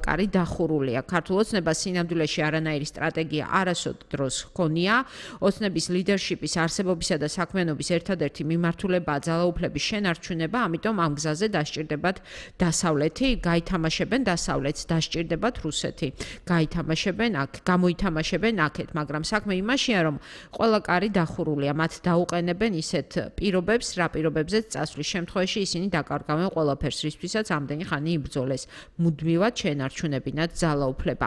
კარი დახურულია. ქართულ ოცნებას სინამდვილეში არანაირი სტრატეგია არასოდ დროს ჰქონია. ოცნების ლიდერშიპის არსებობისა და საქმიანობის ერთადერთი მიმართულებაა ძალაუფლების შენარჩუნება, ამიტომ ამ გზაზე დასჭირდებათ დასავლეთი, გაითამაშებენ დასავლეთს, დასჭირდებათ რუსეთი. გამოითამაშებენ აქეთ, მაგრამ საქმე იმაშია, რომ ყველა კარი დახურულია, მათ დაუყენებენ ისეთ პირობებს, რა პირობებზეც წასვლის შემთხვევაში ისინი დაკარგავენ ყველაფერს, რისთვისაც ამდენი ხანი იბრძოლეს, მუდმივად შენარჩუნებინათ ძალაუფლება.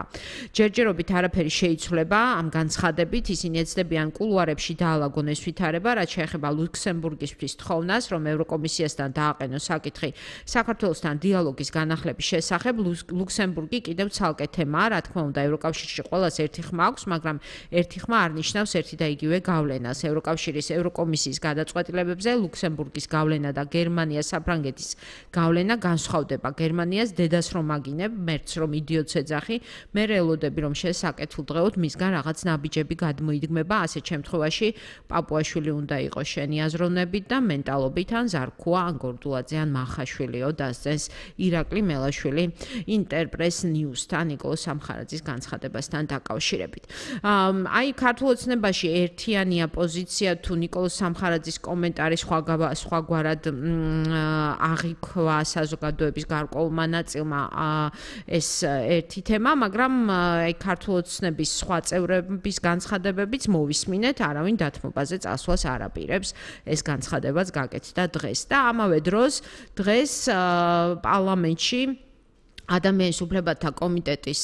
ჯერჯერობით არაფერი შეიცვლება ამ განცხადებით, ისინი ეცდებიან კულუარებში დაალაგონ ეს ვითარება, რაც შეეხება ლუქსემბურგისთვის თხოვნას, რომ ევროკომისიასთან დააყენოს საკითხი საქართველოსთან დიალოგის განახლების შესახებ. ლუქსემბურგი კიდევ ცალკე თემაა, რა თქმა უნდა, ევროკავშირში ყველას ერთი ხმა აქვს, მაგრამ ერთი ხმა არ ნიშნავს ერთი და იგივე გავლენას. ევროკავშირის ევროკომისიის გადაწყვეტილებებზე ლუქსემბურგის გავლენა და გერმანია საფრანგეთის გავლენა განსხვავდება. გერმანიას დედას რომ აგინებ, მერც რომ იდიოტს ეძახი, მე ელოდები რომ შესაკეთილდღეოდ მისგან რაღაც ნაბიჯები გადმოიდგმება, ასეთ შემთხვევაში პაპუაშვილი უნდა იყოს შენი აზროვნებით და მენტალობით, ან ზარქუა, ან გორდულაძე, ან მახაშვილიო, დასწენს ირაკლი მელაშვილი ინტერპრეს ნიუსთან ნიკოლოზ სამხარაძის განცხადებასთან დაკავშირებით. აი ქართულ ოცნებაში ერთიანია პოზიცია თუ ნიკოლოზ სამხარაძის კომენტარი სხვაგვარად აღიქვა საზოგადოების გარკვეულმა ნაწილმა ეს ერთი თემა, მაგრამ აი ქართულ ოცნების სხვა წევრების განცხადებებიც მოვისმინეთ, არავინ დათმობაზე წასვლას არ აპირებს. ეს განცხადებაც გაკეთდა დღეს და ამავე დროს დღეს პარლამენტში ადამიანის უფლებათა კომიტეტის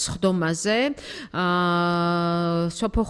სხდომაზე სოფო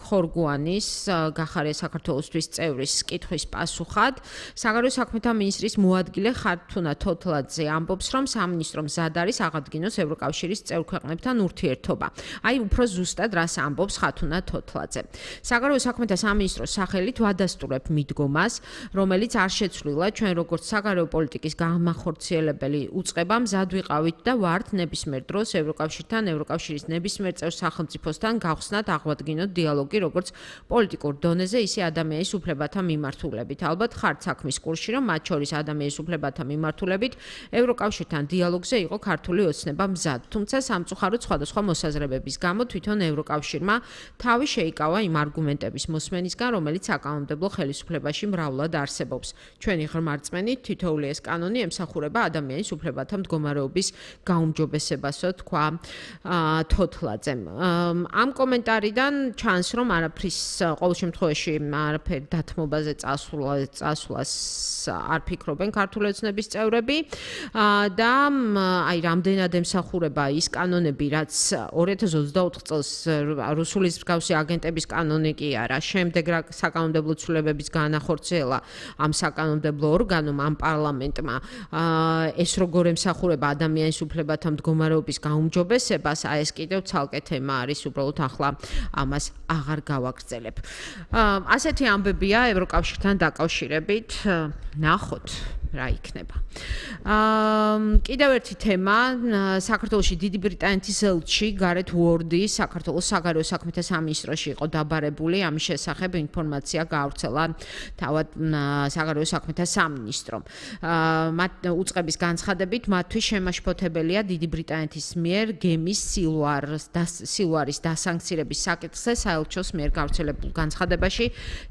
ხორგუანის გახარია საქართველოსთვის წევრის კითხვის პასუხად საგარეო საქმეთა მინისტრის მოადგილე ხართუნა თოთლაძე ამბობს, რომ სამინისტრომ მზად არის აღადგინოს ევროკავშირის წევრ ქვეყნებთან ურთიერთობა. აი უფრო ზუსტად რას ამბობს ხართუნა თოთლაძე. საგარეო საქმეთა სამინისტროს სახელით ვადასტურებ მიდგომას, რომელიც არ შეცვლილა ჩვენ როგორც საგარეო პოლიტიკის განმახორციელებელი უწყება მზად ვიყავით და ვართ ნებისმიერ დროს ევროკავშირთან, ევროკავშირის ნებისმიერ წევრ სახელმწიფოსთან გავხსნათ აღვადგინოთ დიალოგი როგორც პოლიტიკურ დონეზე, ისე ადამიანის უფლებათა მიმართულებით. ალბათ ხართ საქმის კურსში, რომ მათ შორის ადამიანის უფლებათა მიმართულებით ევროკავშირთან დიალოგზე იყო ქართული ოცნება მზად. თუმცა სამწუხაროდ სხვადასხვა მოსაზრებების გამო თვითონ ევროკავშირმა თავი შეიკავა იმ არგუმენტების მოსმენისგან, რომელიც საკანონმდებლო ხელისუფლებაში მრავლად არსებობს. ჩვენი ღრმა რწმენით თითოეული ეს კანონი ემსახურება ადამიანის უფლებათა მდგომარეობის გაუმჯობესებასო თქვა თოთლაძემ. ამ კომენტარიდან ჩანს, რომ არაფრის ყოველ შემთხვევაში არაფერი დათმობაზე წასვლას არ ფიქრობენ ქართული ოცნების წევრები და აი რამდენად ემსახურება ის კანონები, რაც 2024 წელს რუსულის მსგავსი აგენტების კანონი კი არა, შემდეგ რა საკანონმდებლო ცვლილებების განახორციელა ამ საკანონმდებლო ორგანომ, ამ პარლამენტმა ეს როგორ ემსახურება ადამიანის უფლებათა მდგომარეობის გაუმჯობესებას, აი ეს კიდევ ცალკე თემა არის, უბრალოდ ახლა ამას აღარ გავაგრძელებ. ასეთი ამბებია ევროკავშირთან დაკავშირებით, ნახოთ რა იქნება. კიდევ ერთი თემა, საქართველოში დიდი ბრიტანეთის ელჩი გარეთ უორდი საქართველოს საგარეო საქმეთა სამინისტროში იყო დაბარებული, ამის შესახებ ინფორმაცია გაავრცელა თავად საგარეო საქმეთა სამინისტრომ. მათ უწყების განცხადებით, მათთვის შემაშფოთებელია დიდი ბრიტანეთის მიერ გემის სილვარის დასანქცირების საკითხზე საელჩოს მიერ გავრცელებულ განცხადებაში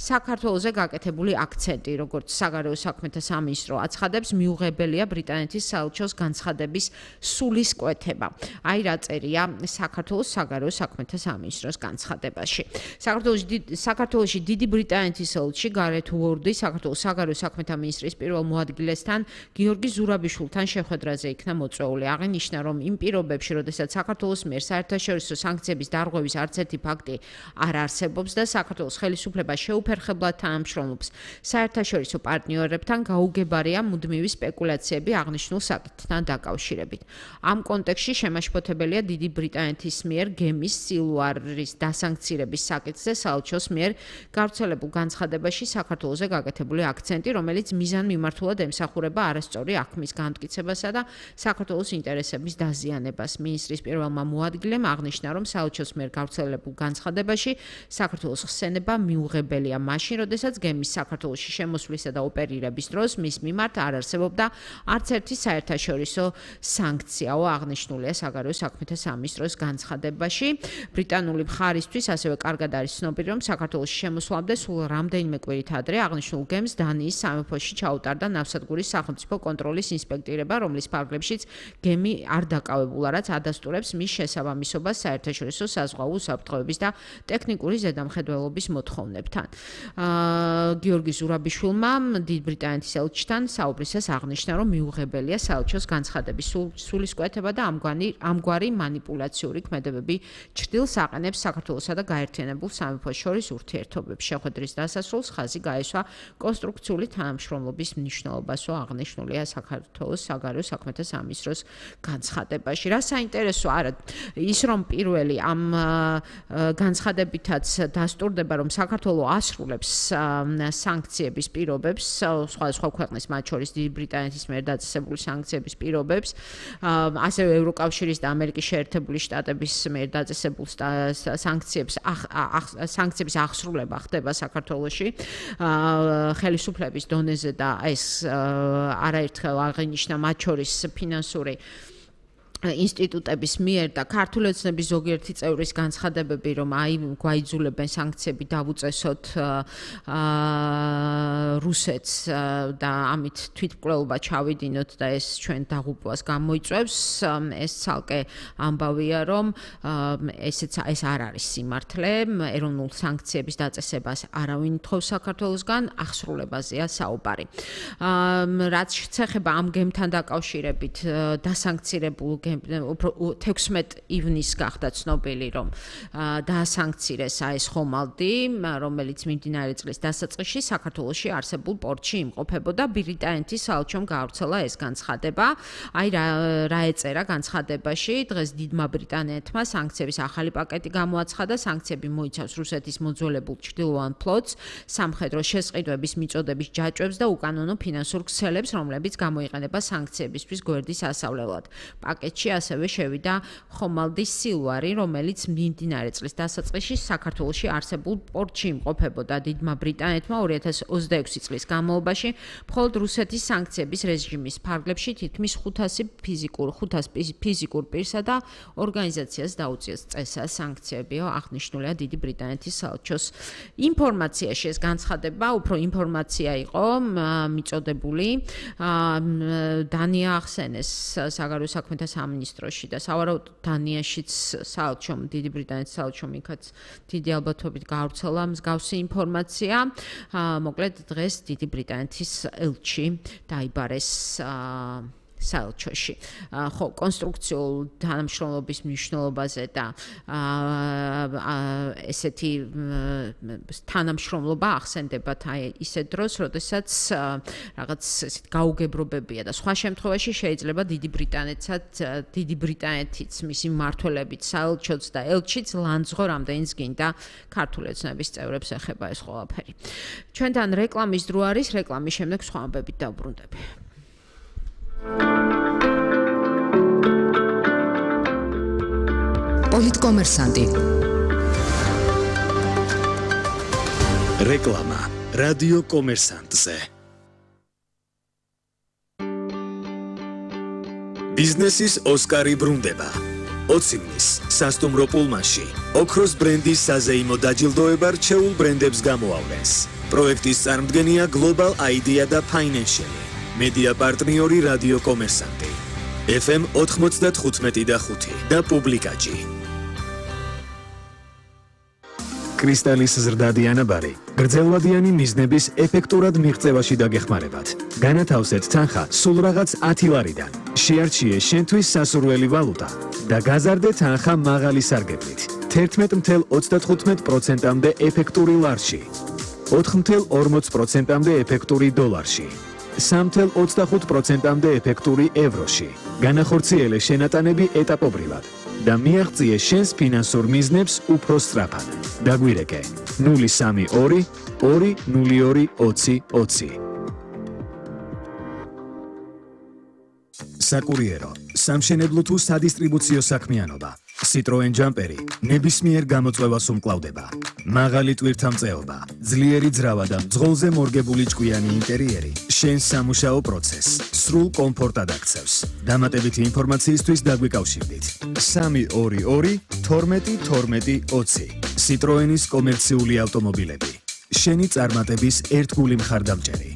საქართველოზე გაკეთებული აქცენტი, როგორც საგარეო საქმეთა სამინისტრო აცხადებს, მიუღებელია ბრიტანეთის საელჩოს განცხადების სულისკვეთება. აი რა წერია საქართველოს საგარეო საქმეთა სამინისტროს განცხადებაში. საქართველოში დიდი ბრიტანეთის ელჩი გარეთ უორდი საქართველოს საგარეო საქმეთა მინისტრის პირველ მოადგილესთან გიორგი ზურაბიშვილთან შეხვედრაზე იქნა მოწვეული. აღინიშნა, რომ იმ პირობებში, როდესაც საქართველოს მიერ საერთაშორისო სანქციების დარღვევის არც ერთი ფაქტი არ არსებობს და საქართველოს ხელისუფლება შეუფერხებლად თანამშრომლობს საერთაშორისო პარტნიორებთან, გაუგებარია მუდმივი სპეკულაციები აღნიშნულ საკითხთან დაკავშირებით. ამ კონტექსტში შემაშფოთებელია დიდი ბრიტანეთის მიერ გემის სილვარის დასანქცირების საკითხზე საელჩოს მიერ გავრცელებულ განცხადებაში საქართველოზე გაკეთებული აქცენტი, რომელიც მიზანმიმართულად ემსახურება არასწორი აქმის განმტკიცებასა და საქართველოს საქართველოს ინტერესების დაზიანებას. მინისტრის პირველმა მოადგილემ აღნიშნა, რომ საელჩოს მიერ გავრცელებულ განცხადებაში საქართველოს ხსენება მიუღებელია მაშინ, როდესაც გემის საქართველოში შემოსვლისა და ოპერირების დროს მის მიმართ არ არსებობდა არც ერთი საერთაშორისო სანქციაო, აღნიშნულია საგარეო საქმეთა სამინისტროს განცხადებაში. ბრიტანული მხარისთვის ასევე კარგად არის ცნობილი, რომ საქართველოში შემოსვლამდე სულ რამდენიმე კვირით ადრე აღნიშნულ გემს დანიის სამეფოში ჩაუტარდა ნავსადგურის სახელმწიფო კონტროლის ინსპექტირება, რომლის ფარგლებშიც გემი არ დაკავებულა, რაც ადასტურებს მის შესაბამისობას საერთაშორისო საზღვაო უსაფრთხოების და ტექნიკური ზედამხედველობის მოთხოვნებთან. გიორგი ზურაბიშვილმა დიდ ბრიტანეთის ელჩთან საუბრისას აღნიშნა, რომ მიუღებელია საელჩოს განცხადების სულისკვეთება და ამგვარი მანიპულაციური ქმედებები ჩრდილს აყენებს საქართველოსა და გაერთიანებულ სამეფოს შორის ურთიერთობებს. შეხვედრის დასასრულს ხაზი გაესვა კონსტრუქციული თანამშრომლობის მნიშვნელობასო, აღნიშნულია საქართველოს საგარეო საქმეთა სამინისტროს განცხადებაში. რა საინტერესო არა ის, რომ პირველი ამ განცხადებითაც დასტურდება, რომ საქართველო ასრულებს სანქციების პირობებს, სხვადასხვა ქვეყნის, მათ შორის დიდი ბრიტანეთის მიერ დაწესებული სანქციების პირობებს, ასევე ევროკავშირის და ამერიკის შეერთებული შტატების მიერ დაწესებულ სანქციების აღსრულება ხდება საქართველოში ხელისუფლების დონეზე და ეს არაერთხელ აღინიშნა მათ შორის ფინანსური ინსტიტუტების მიერ და ქართული ოცნების ზოგიერთი წევრის განცხადებები, რომ გვაიძულებენ სანქციები დავუწესოთ რუსეთს და ამით თვითმკვლელობა ჩავიდინოთ და ეს ჩვენ დაღუპვას გამოიწვევს, ეს ცალკე ამბავია, რომ ეს არ არის სიმართლე, ეროვნულ სანქციების დაწესებას არავინ თხოვს საქართველოსგან, აღსრულებაზეა საუბარი. რაც შეეხება ამ გემთან დაკავშირებით დასანქცირებულ 16 ივნისს გახდა ცნობილი, რომ დაასანქცირეს ეს ხომალდი, რომელიც მიმდინარე წლის დასაწყისში საქართველოში არსებულ პორტში იმყოფებოდა. ბრიტანეთის საელჩომ გაავრცელა ეს განცხადება. რა ეწერა განცხადებაში, დღეს დიდმა ბრიტანეთმა სანქციების ახალი პაკეტი გამოაცხადა. სანქციები მოიცავს რუსეთის მოძველებულ ჩრდილოვან ფლოტს, სამხედრო შესყიდვების მიწოდების ჯაჭვებს და უკანონო ფინანსურ ქსელებს, რომლებიც გამოიყენება სანქციებისთვის გვერდის ასავლელად. პაკეტში ასევე შევიდა ხომალდის სილვარი, რომელიც მიმდინარე წლის დასაწყისში საქართველოში არსებულ პორტში იმყოფებოდა. დიდმა ბრიტანეთმა 2026 წლის განმავლობაში მხოლოდ რუსეთის სანქციების რეჟიმის ფარგლებში თითქმის 500 ფიზიკურ პირსა და ორგანიზაციას დაუწიეს წესა სანქციებიო, აღნიშნულია დიდი ბრიტანეთის საელჩოს ინფორმაციაში. ეს განცხადება უფრო ინფორმაცია იყო მიწოდებული. დანია ახსენეს საგარეო საქმეთა სამინისტროში და სავარაუდოდ დანიაშიც საელჩომ, დიდი ბრიტანეთის საელჩომ იქაც დიდი ალბათობით გაავრცელა მსგავსი ინფორმაცია. მოკლედ დღეს დიდი ბრიტანეთის ელჩი დაიბარეს საელჩოში. ხო, კონსტრუქციულ თანამშრომლობის მნიშვნელობაზე და ესეთი თანამშრომლობა ახსენდებათ ისეთ დროს, როდესაც რაღაც ესეთ გაუგებრობებია და სხვა შემთხვევაში შეიძლება დიდი ბრიტანეთიც, მისი მმართველებიც, საელჩოც და ელჩიც ლანძღო რამდენიც გინდა ქართული ოცნების წევრებს ეხება ეს ყველაფერი. ჩვენთან რეკლამის დრო არის, რეკლამის შემდეგ სხვა ამბებით დავბრუნდები. პოლიტკომერსანტი. რეკლამა რადიო კომერსანტზე. ბიზნესის ოსკარი ბრუნდება. 20 ივნის სასტუმრო პულმანში ოქროს ბრენდის საზეიმო დაჯილდოება რჩეულ ბრენდებს გამოავლენს. პროექტის წარმომადგენია Global Idea და Financial. მედია პარტნიორი რადიო კომერსანტი. FM 95.5 და პუბლიკაჯი. კრისტალის ზრდადი ანაბარი გრძელვადიანი მიზნების ეფექტურად მიღწევაში დაგეხმარებათ. განათავსეთ თანხა სულ რაღაც 10 ლარიდან. შეარჩიე შენთვის სასურველი ვალუტა და გაზარდე თანხა მაღალი სარგებლით. 11.35%-მდე ეფექტური ლარში, 4.40%-მდე ეფექტური დოლარში, 3.25%-მდე ეფექტური ევროში. განახორციელე შენატანები ეტაპობრივად და მიაღწიე შენს ფინანსურ მიზნებს უფრო სწრაფად. დაგვირეკე 032 202 2020. საკურიერო სამშენებლო თუ სადისტრიბუციო საქმიანობა. Citroen Jumperi ნებისმიერ გამოწვევას უმკლავდება. მაღალი ტვირთამწეობა, ძლიერი ძრავა და მძღოლზე მორგებული ჭკვიანი ინტერიერი შენს სამუშაო პროცესს სრულ კომფორტად აქცევს. დამატებითი ინფორმაციისთვის დაგვიკავშირდით 322 12 12 20. Citroenis კომერციული ავტომობილები. შენი წარმატების ერთგული მხარდამჭერი.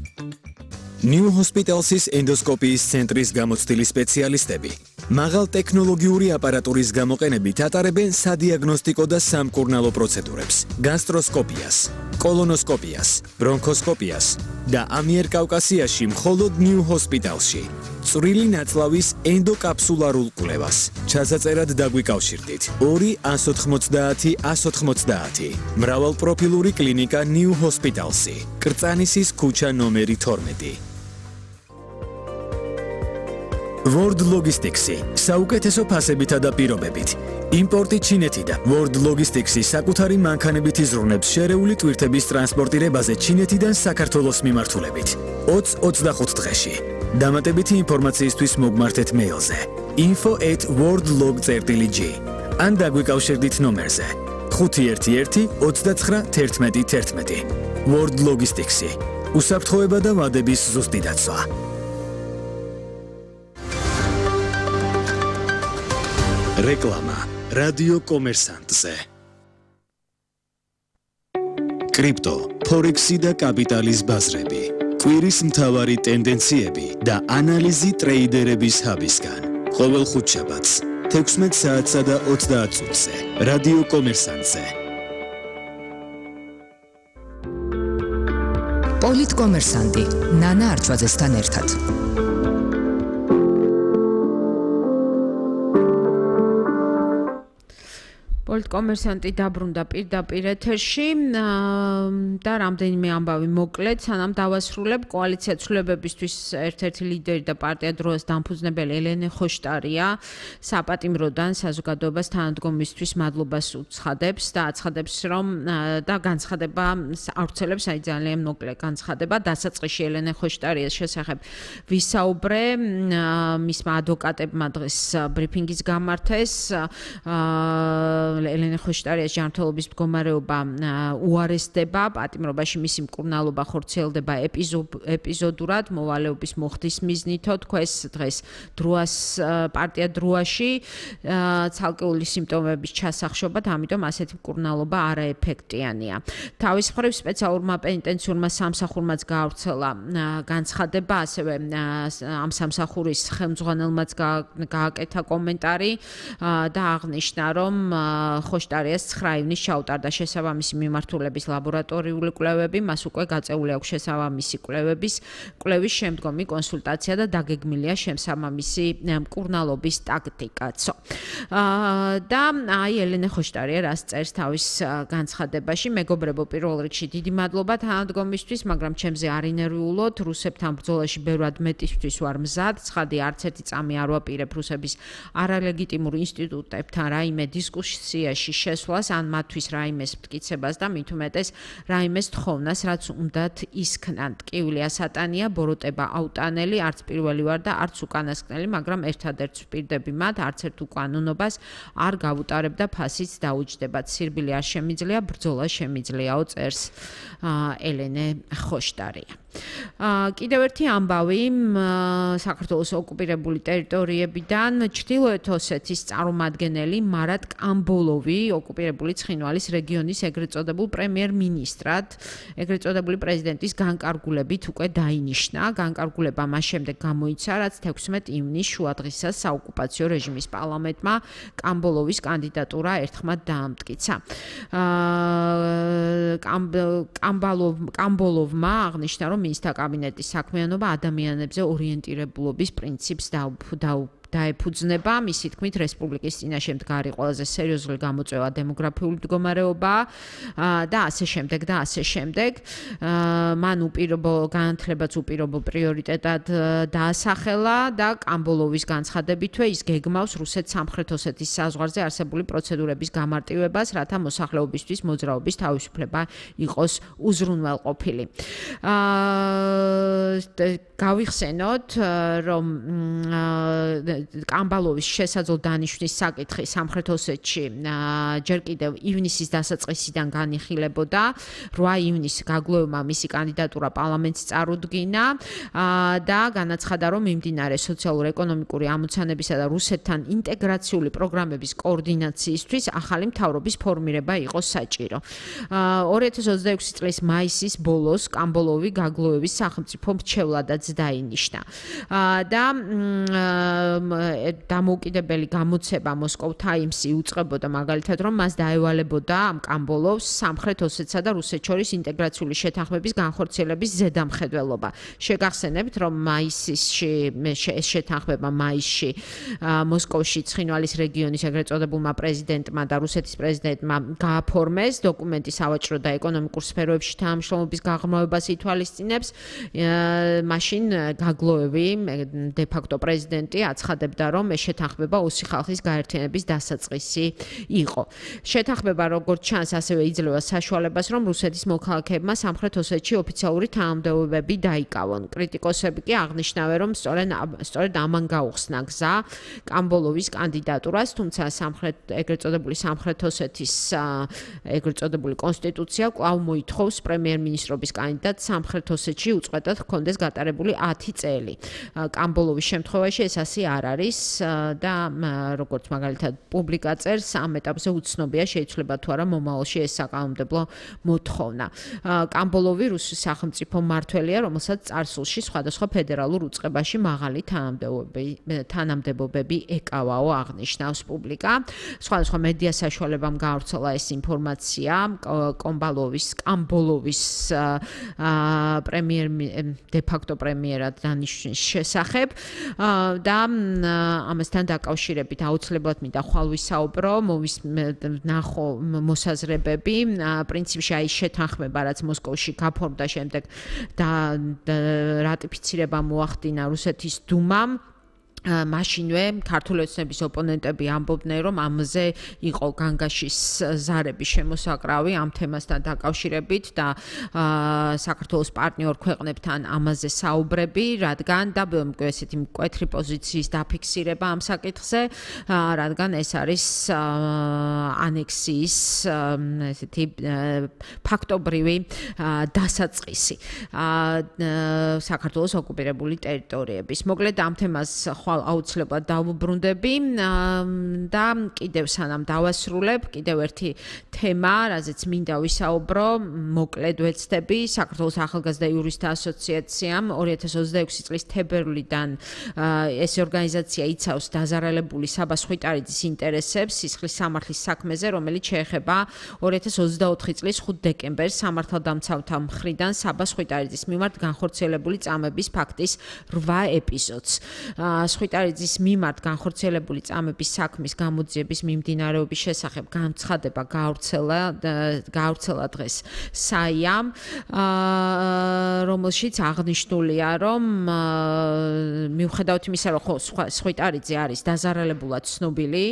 New Hospital's ენდოსკოპიის ცენტრის გამოცდილი სპეციალისტები მაღალ ტექნოლოგიური აპარატურის გამოყენებით ატარებენ სადიაგნოსტიკო და სამკურნალო პროცედურებს, გასტროსკოპიას, კოლონოსკოპიას, ბრონქოსკოპიას და ამიერკავკასიაში მხოლოდ New Hospitalში. წვრილი ნაწლავის ენდოკაპსულარულ კვლევას. ჩასაწერად დაგვიკავშირდით 2 190 190. მრავალპროფილური კლინიკა New Hospital's. კრწანისის ქუჩა ნომერი 12. World Logistics-ი საუკეთესო ფასებითა და პირობებით. იმპორტი ჩინეთიდან. World Logistics-ი საკუთარი მანქანებით იზრუნებს შერეული ტვირთების ტრანსპორტირებაზე ჩინეთიდან საქართველოს მიმართულებით. 20-25 დღეში. დამატებითი ინფორმაციისთვის მოგმართეთ მეილზე info@worldlog.gr ან დაგვიკავშირდით ნომერზე 511 29 11 11. World Logistics-ი უსაფრთხოება და ვადების ზუსტი დაცვა. რეკლამა რადიო კომერსანტზე. კრიპტო, ფორექსი და კაპიტალის ბაზრები. კვირის მთავარი ტენდენციები და ანალიზი ტრეიდერების ჰაბისგან. ყოველ ხუთშაბათს 16 საათსა და 30 წუთზე. რადიო კომერსანტზე. პოლიტკომერსანტი ნანა არჩვაძესთან ერთად. პოლიტკომერსანტი დაბრუნდა პირდაპირ ეთერში და რამდენიმე ამბავი მოკლედ, სანამ დავასრულებ კოალიცია ცვლილებებისთვის ერთ-ერთი ლიდერი და პარტია დროას დამფუძნებელი ელენე ხოშტარია საპატიმროდან საზოგადოებას თანადგომისთვის მადლობას უცხადებს და აცხადებს, რომ და განცხადება ავრცელებს ძალიან მოკლე განცხადება დასაწყისში ელენე ხოშტარიას შესახებ ვისაუბრე მისმა ადვოკატებმა დღეს ბრიფინგის გამართეს ელენე ხოშტარიას ჯანმრთელობის მდგომარეობა უარესდება, პატიმრობაში მისი მკურნალობა ხორციელდება ეპიზოდურად, მოვალეობის მოხდის მიზნითო, თქვეს დღეს დროას პარტია დროაში ცალკეული სიმპტომების ჩასახშობად, ამიტომ ასეთი მკურნალობა არაეფექტიანია. თავის მხრივ სპეციალურმა პენიტენციურმა სამსახურმაც გაავრცელა განცხადება, ასევე ამ სამსახურის ხელმძღვანელმაც გააკეთა კომენტარი და აღნიშნა, რომ ხოშტარიას 9 ივნის ჩაუტარდა შესაბამისი მიმართულების ლაბორატორიული კვლევები, მას უკვე გაწეული აქვს შესაბამისი კვლევის შემდგომი კონსულტაცია და დაგეგმილია შესაბამისი მკურნალობის ტაქტიკაცო. და აი ელენე ხოშტარია რას წერს თავის განცხადებაში, მეგობრებო, პირველ რიგში დიდი მადლობა თანადგომისთვის, მაგრამ ჩემზე არ ინერვიულოთ, რუსებთან ბრძოლაში ბევრად მეტისთვის ვარ მზად, ცხადი არც ერთი წამი არ ვაპირებ რუსების არალეგიტიმურ ინსტიტუტებთან რაიმე დისკუსიაში შესვლას ან მათთვის რაიმეს მტკიცებას და მით უმეტეს რაიმეს თხოვნას, რაც უნდათ ისქნან. ტკივილია სატანია, ბოროტება აუტანელი, არც პირველი ვარ და არც უკანასკნელი, მაგრამ ერთადერთს ვპირდები მათ, არც ერთ უკანონობას არ გავუტარებ და ფასიც დაუჯდებათ. სირბილი არ შემიძლია, ბრძოლა შემიძლიაო, წერს ელენე ხოშტარია. კიდევ ერთი ამბავი საქართველოს ოკუპირებული ტერიტორიებიდან ჩრდილოეთ ოსეთის წარმომადგენელი მარატ კამბოლოვი ოკუპირებული ცხინვალის რეგიონის ეგრეთ წოდებულ პრემიერ-მინისტრად, ეგრეთ წოდებული პრეზიდენტის განკარგულებით უკვე დაინიშნა. განკარგულება მას შემდეგ გამოიცა, რაც 16 ივნის შუადღისას საოკუპაციო რეჟიმის პარლამენტმა კამბოლოვის კანდიდატურა ერთხმად დაამტკიცა. კამბოლოვმა აღნიშნა, რომ მინისტრთა კაბინეტის საქმიანობა ადამიანებზე ორიენტირებულობის პრინციპს დაეფუძნება. მისი თქმით, რესპუბლიკის წინაშე მდგარი ყველაზე სერიოზული გამოწვევა დემოგრაფიული მდგომარეობა და ასე შემდეგ და ასე შემდეგ. მან განათლებაც უპირობო პრიორიტეტად დაასახელა და კამბოლოვის განცხადებითვე ის გეგმავს რუსეთ სამხრეთ ოსეთის საზღვარზე არსებული პროცედურების გამარტივებას, რათა მოსახლეობისთვის მოძრაობის თავისუფლება იყოს უზრუნველყოფილი. გავიხსენოთ, რომ კამბალოვის შესაძლო დანიშვნის საკითხი სამხრეთ ოსეთში ჯერ კიდევ ივნისის დასაწყისიდან განიხილებოდა. 8 ივნისს გაგლოვებმა მისი კანდიდატურა პარლამენტს წარუდგინა და განაცხადა, რომ მიმდინარე სოციალურ-ეკონომიკური ამოცანებისა და რუსეთთან ინტეგრაციული პროგრამების კოორდინაციისთვის ახალი მთავრობის ფორმირება იყო საჭირო. 2026 წლის მაისის ბოლოს კამბალოვი გაგლოვების სახელმწიფო მრჩევლადაც დაინიშნა. და დამოუკიდებელი გამოცემა Moscow Times-ი უწყებოდა მაგალითად, რომ მას დაევალებოდა ამ კამბალოვს სამხრეთ ოსეთსა და რუსეთს შორის ინტეგრაციული შეთანხმების განხორციელების ზედამხედველობა. შეგახსენებთ, რომ მაისში ეს შეთანხმება მაისში მოსკოვში ცხინვალის რეგიონის ეგრეთ წოდებულმა პრეზიდენტმა და რუსეთის პრეზიდენტმა გააფორმეს. დოკუმენტი სავაჭრო და ეკონომიკურ სფეროებში თანამშრომლობის გაღრმავებას ითვალისწინებს. მაშინ გაგლოევი de facto პრეზიდენტი აცხადებდა, რომ ეს შეთანხმება ოსი ხალხის გაერთიანების დასაწყისი იყო. შეთანხმება როგორც ჩანს, ასევე იძლევა საშუალებას, რომ რუსეთის მოქალაქეებმა სამხრეთ ოსეთში ოფიციალური თანამდებობები დაიკავონ. კრიტიკოსები კი აღნიშნავენ, რომ სწორედ ამან გაუხსნა გზა კამბალოვის კანდიდატურას, თუმცა ეგრეთ წოდებული სამხრეთ ოსეთის ეგრეთ წოდებული კონსტიტუცია კვლავ მოითხოვს პრემიერ-მინისტრობის კანდიდატს სამხრეთ ოსეთში უწყვეტად ჰქონდეს გატარებული 10 წელი. კამბალოვის შემთხვევაში ეს ასე არ არის და როგორც მაგალითად პუბლიკა წერს, ამ ეტაპზე უცნობია შეიცვლება თუ არა მომავალში ეს საკანონმდებლო მოთხოვნა. კამბალოვი რუსეთის სახელმწიფო მმართველია, რომელსაც წარსულში სხვადასხვა ფედერალურ უწყებაში მაღალი თანამდებობები ეკავაო, აღნიშნავს პუბლიკა. სხვადასხვა მედია საშუალებამ გაავრცელა ეს ინფორმაცია კამბალოვის de facto პრემიერად დანიშვნის შესახებ და ამასთან დაკავშირებით აუცილებლად მინდა ხვალ ვისაუბრო, ნახო მოსაზრებები, პრინციპში აი შეთანხმება, რაც მოსკოვში გაფორმდა, შემდეგ და რატიფიცირება მოახდინა რუსეთის დუმამ. მაშინვე ქართული ოცნების ოპონენტები ამბობდნენ, რომ ამაზე იყო განგაშის ზარების შემოსაკრავი ამ თემასთან დაკავშირებით და საქართველოს პარტნიორ ქვეყნებთან ამაზე საუბრები, რადგან და ესეთი მკვეთრი პოზიციის დაფიქსირება ამ საკითხზე, რადგან ეს არის ანექსიის ესეთი ფაქტობრივი დასაწყისი საქართველოს ოკუპირებული ტერიტორიების. მოკლედ ამ თემას აუცილებლად დავუბრუნდები და კიდევ სანამ დავასრულებ, კიდევ ერთი თემა, რაზეც მინდა ვისაუბრო, მოკლედ ვეცდები, საქართველოს ახალგაზრდა იურისტთა ასოციაციამ 2026 წლის თებერვლიდან ეს ორგანიზაცია იცავს დაზარალებული საბა სხვიტარიძის ინტერესებს სისხლის სამართლის საქმეზე, რომელიც შეეხება 2024 წლის 5 დეკემბერს სამართალდამცავთა მხრიდან საბა სხვიტარიძის მიმართ განხორციელებული წამების ფაქტის 8 ეპიზოდს. სხვიტარიძის მიმართ განხორციელებული წამების საქმის გამოძიების მიმდინარეობის შესახებ განცხადება გაავრცელა დღეს საიამ, რომელშიც აღნიშნულია, რომ მიუხედავად იმისა, რომ სხვიტარიძე არის დაზარალებულად ცნობილი,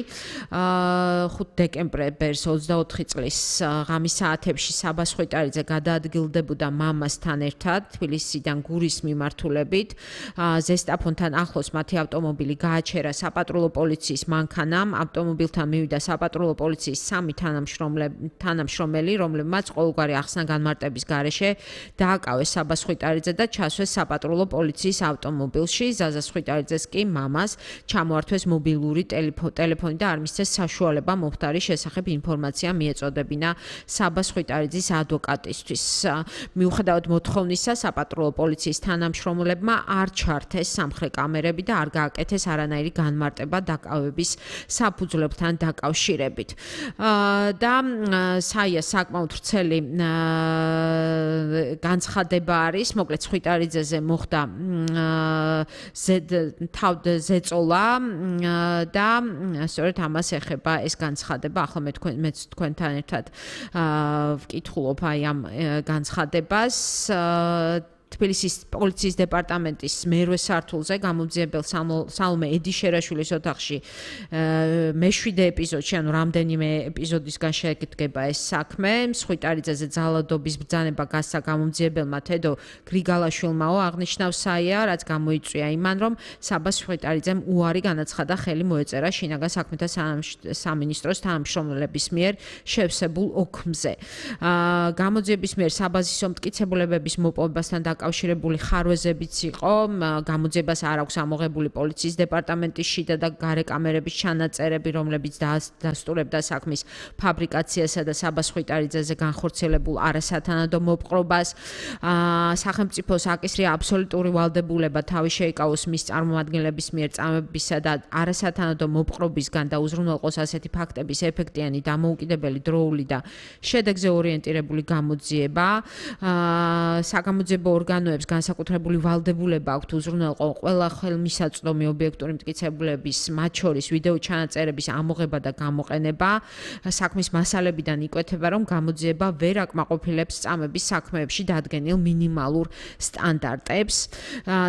5 დეკემბერს 24 წლის ღამის საათებში საბა სხვიტარიძე გადაადგილდებოდა მამასთან ერთად თბილისიდან გურის მიმართულებით. ზესტაფონთან ახლოს მათი ავტომობილი გააჩერა საპატრულო პოლიციის მანქანამ. ავტომობილთან მივიდა საპატრულო პოლიციის 3 თანამშრომელი, რომლებმაც ყოველგვარი ახსნა განმარტების გარეშე დააკავეს საბა სხვიტარიძე და ჩასვეს საპატრულო პოლიციის ავტომობილში. ზაზა სხვიტარიძეს კი მამას ჩამოართვეს მობილური ტელეფონი და არ მისცეს საშუალება მომხდარის შესახებ ინფორმაცია მიეწოდებინა საბა სხვიტარიძის ადვოკატისთვის. მიუხედავად მოთხოვნისა, საპატრულო პოლიციის თანამშრომლებმა არ ჩართეს სამხრე კამერები და არ გააკეთეს არანაირი განმარტება დაკავების საფუძვლებთან დაკავშირებით. და საია საკმაოდ ვრცელი განცხადება არის, მოკლედ სხვიტარიძეზე მოხდა ზეწოლა და სწორედ ამას ეხება ეს განცხადება. ახლა მე თქვენთან ერთად ვკითხულობ აი ამ განცხადებას თბილისის პოლიციის დეპარტამენტის მერვე სართულზე გამოძიებელ სალომე ედიშერაშვილის ოთახში მე-7 ეპიზოდში, ანუ რამდენიმე ეპიზოდისგან შედგება ეს საქმე. მსხვიტარიძეზე ძალადობის ბრძანება გასცა გამოძიებელმა თედო გრიგალაშვილმაო აღნიშნავს საია, რაც გამოიწვია იმან, რომ საბას მსხვიტარიძემ უარი განაცხადა ხელი მოეწერა შინაგან საქმეთა სამინისტროს თანამშრომლების მიერ შევსებულ ოქმზე. გამოძიების მიერ საბაზისო მტკიცებულებების მოპოვებასთან დაკავშირებული ხარვეზებიც იყო. გამოძიებას არ აქვს ამოღებული პოლიციის დეპარტამენტის შიდა და გარე კამერების ჩანაწერები, რომლებიც დასტურებდა საქმის ფაბრიკაციასა და საბას მსხვიტარიძეზე განხორციელებულ არასათანადო მოპყრობას. სახელმწიფოს აკისრია აბსოლუტური ვალდებულება თავი შეიკავოს მის წარმომადგენლების მიერ წამებისა და არასათანადო მოპყრობისგან და უზრუნველყოს ასეთი ფაქტების ეფექტიანი, დამოუკიდებელი, დროული და შედეგზე ორიენტირებული გამოძიება. საგამოძიებო ორგანოებს განსაკუთრებული ვალდებულება აქვთ უზრუნველყო ყველა ხელმისაწვდომი ობიექტური მტკიცებულების, მათ შორის ვიდეო ჩანაწერების ამოღება და გამოყენება. საქმის მასალებიდან იკვეთება, რომ გამოძიება ვერ აკმაყოფილებს წამების საქმეებში დადგენილ მინიმალურ სტანდარტებს.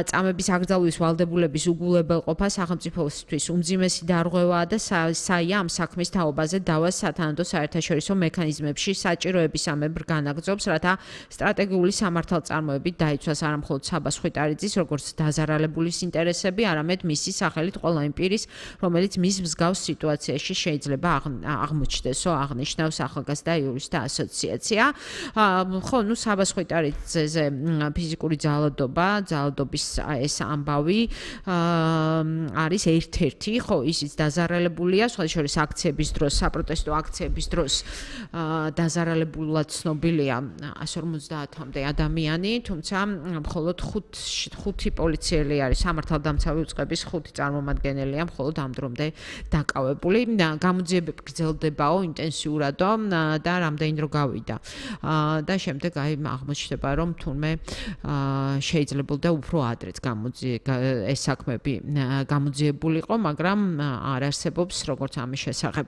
წამების აკრძალვის ვალდებულების უგულებელყოფა სახელმწიფოსთვის უმძიმესი დარღვევაა და საია ამ საქმის თაობაზე დავას სათანადო საერთაშორისო მექანიზმებში საჭიროებისამებრ განაგრძობს, რათა სტრატეგიული სამართალწარმოებით დაიცვას არა მხოლოდ საბას მსხვიტარიძის, როგორც დაზარალებულის ინტერესები, არამედ მისი სახელით ყველა იმ პირის, რომელიც მის მსგავს სიტუაციაში შეიძლება აღმოჩნდესო, აღნიშნავს ახალგაზრდა იურისტთა ასოციაცია. ხო, საბას მსხვიტარიძეზე ფიზიკური ძალადობის ეს ამბავი არის ერთ-ერთი, ხო, ისიც დაზარალებულია, სხვა შორის აქციების დროს, საპროტესტო აქციების დროს დაზარალებულად ცნობილია 150-მდე ადამიანი, თუმცა მხოლოდ 5 პოლიციელი არის, სამართალდამცავი უწყების 5 წარმომადგენელია მხოლოდ ამ დრომდე დაკავებული. გამოძიებები გრძელდებაო ინტენსიურადო და რამდენი დრო გავიდა. და შემდეგ აღმოჩნდება, რომ თურმე შეიძლებოდა უფრო ადრეც ეს საქმეები გამოძიებულიყო, მაგრამ არ არსებობს, როგორც ამის შესახებ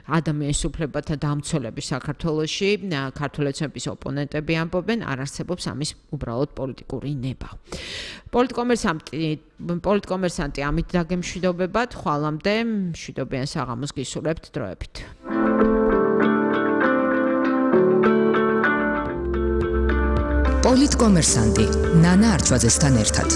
ადამიანის უფლებათა დამცველები საქართველოში, ქართული ოცნების ოპონენტები ამბობენ, არ არსებობს ამის უბრალოდ პოლიტიკური ნება. პოლიტკომერსანტი ამით დაგემშვიდობებათ, ხვალამდე მშვიდობიან საღამოს გისურვებთ დროებით. პოლიტკომერსანტი ნანა არჩვაძესთან ერთად.